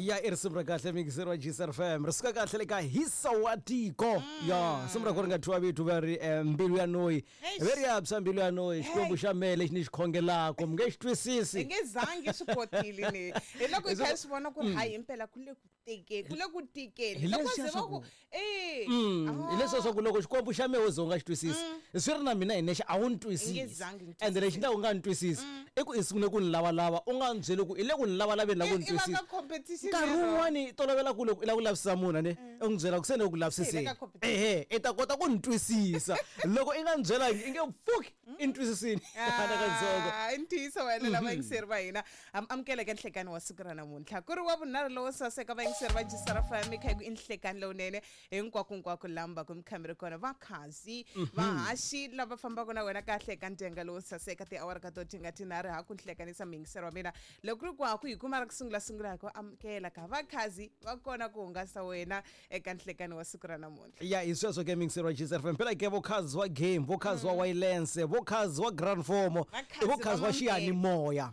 Ya, i risimu ra kahle, mixer wa GCR FM, ri suka kahle le ka hisa wa tiko. Ya, risimu ra ku ri nga thyiwa vito va ri Mbilu ya Noyi. Eish. Ve ri ya psa mbilu ya noyi, Xikwembu xa mehe lexi ni xi khongelaka mi nge xi twisisi. I nge zangi swi kotile ni hi loko hi kha hi swi vona ku ri hayi, impela ku le ku tekeni, ku le ku tikeni. Hi Loko leswiya ze va swa ku e Hi leswiya swa ku loko Xikwembu xa mehe wo ze u nga xi twisisi, swi ri na mina hi nexe a wu ni twisisi. Zangi ni. Ende lexi ndlaku u nga ni twisisi i ku i sungule ku ni lavalava, u nga ni byeli ku i le ku ni lavalaveni la ku ni I va twisisa. ka competition Nkarhi lero. wun'wani tolovela ku loko i lava ku lavisisa munhu ane u n'wi byela ku se ni le ku lavisiseni, Se hi le ka competition. Ehe, i ta kota ku ni twisisa. Loko i nga ni byelangi, i nge pfuki i ni twisisini nakatsongo. Ah, i ntiyiso wena. Lava vayingiseri va hina, amukeleka nhlekani wa siku ra namuntlha, ku ri wa vunharhu lowo saseka. Vayingiseri va jisara fm, kha hi ku i nhlekani lowunene hinkwako lamba ku mi kha mi ri kona, vakhazi, vahaxi lava fambaka na wena kahle eka ndyenga lowo saseka tiawara ka to tinga tinharhu. Ha ku nhlekanisa muyingiseri wa mina, loko ku ri ku ha ku hi kuma ra ku sungula sungula, hi ku amukela ka vakhazi va kona ku hungasa wena eka nhlekani wa siku ra namuntlha. Ya, hi sweswo ke, mixer wa GCR FM. Phela ke vokhazi wa game, vokhazi wa wireless, vokhazi wa grand formo, Vakhazi i vokhazi va wa xiyanimoya.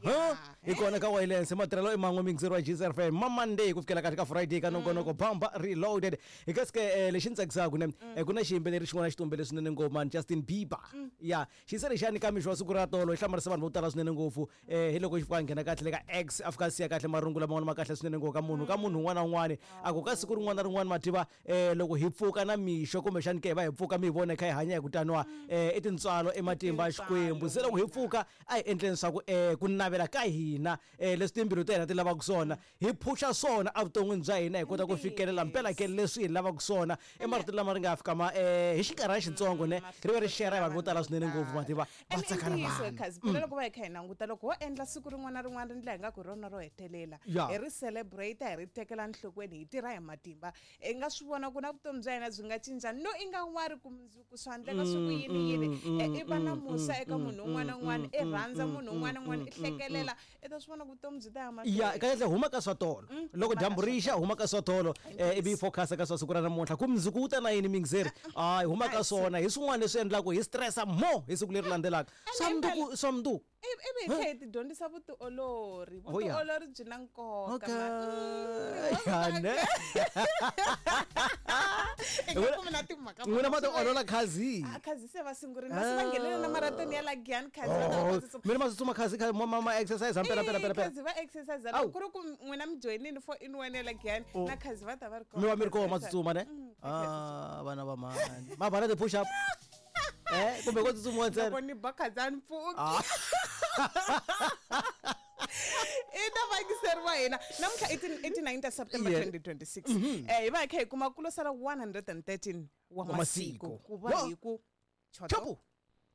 Hi kona ka wireless, matirhelo i man'we, mixer wa GCR FM, ma Monday ku fikela kahle ka Friday ka nongonoko Bamba Reloaded. Hi kasi ke lexi ni tsakisaka ne, ku na xiyimbeleri xin'wana xi tumbele swinene ngopfu mani, Justin Bieber. Ya, xiyise lexiyani ka mixo wa siku ra tolo xi hlamarise vanhu vo tala swinene ngopfu. Hi loko xi fika nghena kahle le ka X, a fika a siya kahle marungu laman'wana ma kahle swinene ngopfu ka munhu un'wana na un'wana, a ku ka siku rin'wana na rin'wana, ma tiva, loko hi pfuka na mixo, kumbexani ke hi va hi pfuka mi hi vona hi kha hi hanya hi ku taniwa, i tintswalo, i matimba ya Xikwembu. Se loko hi pfuka, a hi endleni swa ku ku navela ka hina, leswi timbilu ta hina ti lavaka swona, hi phusha swona evuton'wini bya hina, hi kota ku fikelela mpela ke leswi hi lavaka swona. I marito lama ri nga fika ma hi xinkarhana xitsongo ne, ri ve ri share hi vanhu vo tala swinene ngopfu, ma tiva, va And tsaka na ntiyiso vanhu. Khazi phela, loko va hi kha hi languta, loko ho endla siku rin'wana na rin'wana ri ndla hi nga ku hi rona ro hetelela, hi ri celebrate, hi ri tekela enhlokweni, hi tirha hi matimba, hi nga swi vona ku na vutomi bya hina byi nga cinca. No, i nga wari ku mundzuku swa endleka swi ku yini yini. I va na musa eka munhu un'wana na un'wana, i rhandza munhu un'wana na un'wana, i hlekelela, i ta swi vona ku vutomi byi ta ya Ya, mahlweni. Kahle huma ka swa tolo, loko Huma ka dyambu swa ri xa, huma ka swa tolo, ivi hi focus ka swa siku ra namuntlha, ku mundzuku wu ta na yini, mingizeri hayi, huma ka Hayi, swona. Hi swin'wana leswi endlaku hi stressa more hi siku leri landzelaka, swa mundzuku, swa mundzuku. Ivi hi tlhela hi ti dyondzisa vutiolori. Oh, yeah. Vutiolori byi na nkoka. Okay. Ya, ne. I nga kumi na timhaka. N'wina ma tiolola, khazi? Ah, khazi se va sungurile, va se va nghenele na marathon ya la Giyani, khazi va ta va Oh, tsutsuma. mina ma tsutsuma, khazi, ma exercise mpela mpela mpela mpela. Khazi va exercise. Awu. Loko ku ri ku n'wina mi joyinile for in one ya la Giyani, na khazi va ta va ri kona. Mi va mi ri kona, ma tsutsuma ne? Ah, vana va mani, ma va na ti-push up kumbe ko tsutsumiwa ntsena? Loko ni ba khazi a ni pfuki. Ah. I ta vayingiseri va hina, namuntlha i ti 9 ta September 2026. Hi va hi kha hi kuma ku lo sala 113 wa Wa masiku masiku. ku va hi ku choto. Chapu.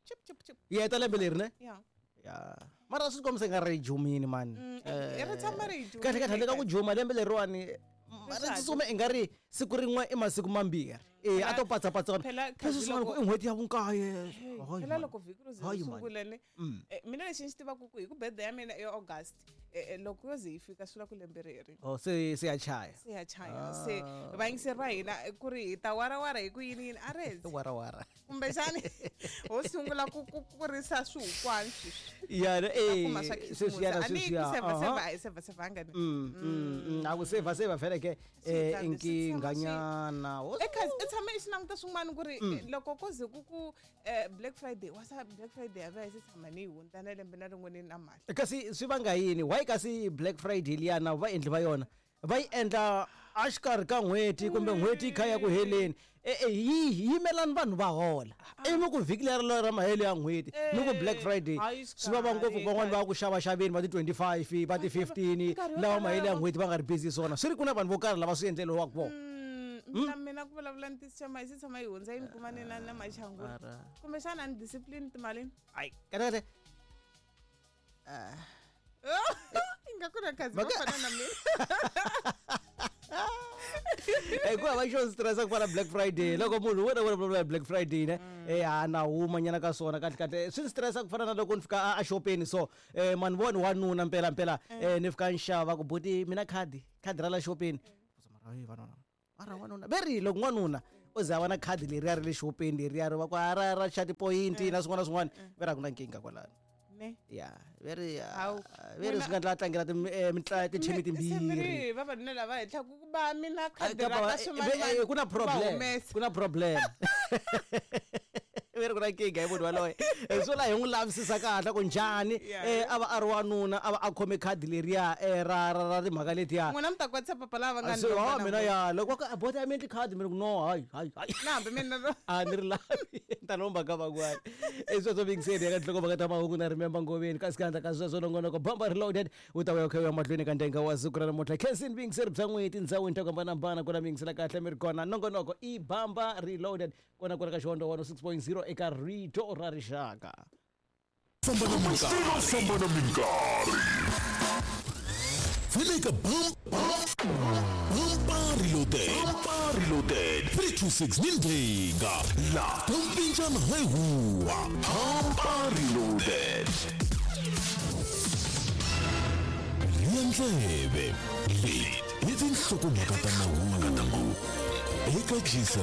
Chip chip chip. Yi heta lembe leri ne? Ya. Ya, mara swi kombisa nga ri jumini mani. I ri tshama ri hi jumile. Kahle kahle, handle ka ku juma lembe leriwani ri Swi tsutsuma i nga ri siku rin'we i masiku mambirhi e a to patsapatsa. Phela khazi Leswi swin'wana ku i n'hweti ya vunkaye. Hayi, phela man. Loko vhiki ro ze Hayi, ri man. sungula ne, mina lexi ni xi tivaka ku hi ku birthday ya mina i August, loko yo ze yi fika, swi vula ku lembe reri Oh, se ya chaya. Se ya chaya. Se vayingiseri va hina, ku ri hi ta warawara hi ku yini yini a rezi. Warawara. Kumbexani ho sungula ku kurisa swihukwani sweswi. Ya ne, Kuma swa sweswiyana. Khisimusi a ni ku Sweswiya. sevha sevha, a hi sevha sevhanga ni. A ku seva seva vhele ke Swi i nkinghanyana. I tshame i xi languta swin'wana ku ri loko ko ze ku Black Friday wa sa Black Friday ya va yi se tshama ni yi hundza na lembe na rin'we ni na mali. Kasi swi vanga yini, why kasi Black Friday liyana va endli va yona va yi endla a xikarhi ka n'hweti kumbe n'hweti yi kha ya ku heleni? E yi yimelani vanhu va hola, ivi mi ku vhiki leri ra mahelo ya n'hweti mi ku Black Friday. Hayi, Swi vava ngopfu. xikarhi, Van'wani va ku xavaxaveni va ti 25, va ti 15, Nkarhi wo lawa tala mahelo ya n'hweti va nga ri busy swona, swi ri ku na vanhu vo karhi lava swi endleriwaka vona. Mina ku vulavula ntiyiso, xama yi se tshama yi hundza yi ni kuma ni na maxangula. Mara. Kumbexana ni discipline timalini. Hayi, kahle kahle. Ingaku na khazi va fana na mina. Ku hava xo stressa ku fana Black Friday. Loko munhu wena wena vulavula hi Black Friday ne, ha na huma nyana ka swona. Kahle kahle swi ni stressa ku fana na loko ni fika a xopeni so, mani voni wanuna mpela mpela, ni fika ni xava ku buti mina khadi, khadi ra la xopeni. Mara hey, vanuna, mara wanuna ve ri loko n'wanuna o ze a va na khadi leriya ra le xopeni, leriya ri va ku a ra xa tipoyinti na swin'wana na swin'wana, ve ri a ku na nkingha kwalano. Ne. Ya veri Hawu, veri swi nga ndla a tlangela tithimi Se mi timbirhi. ri vavanuna lava henhla ku va mina khadi Kapa ra va- ka swimanimani ku na va problem, humesa. ku na problem, veri ku na nkingha hi munhu waloye. Swo la hi n'wi lavisisa kahle ku njhani. A va a ri wanuna, a va a khome khadi leriya ra timhaka letiya. N'wina mi ta kwatisa papa lava nga Se ni wa lomba mina namuntlha. ya loko va ku bota ya mi endli khadi, mina ku no, hayi hayi hayi. Na hambi mina A ni ri lavi, ni ta lomba ka van'wana. I sweswo mingiseni ya ka nhlokomhaka ta mahungu na Remember Ngoveni, kasi ka handla ka sweswo nongonoko Bamba Reloaded wu ta vuya kha ya mahlweni ka ndenga wa siku ra namuntlha. Khensin vingiseri bya n'weti tindhawini to hambanahambana ku na mingisela kahle mi ri kona. Nongonoko i Bamba Reloaded kona kwala ka Xihondzo 106.0 eka Rito ra Rixaka. Famba na minkarhi, famba na minkarhi. Vele ka bam bam reloaded, bamba reloaded 326 nindenga la tompinjana hayihuwa bamba reloaded. Riyandlebe leyi i tinhlokomhaka ta mahungu eka Gcr.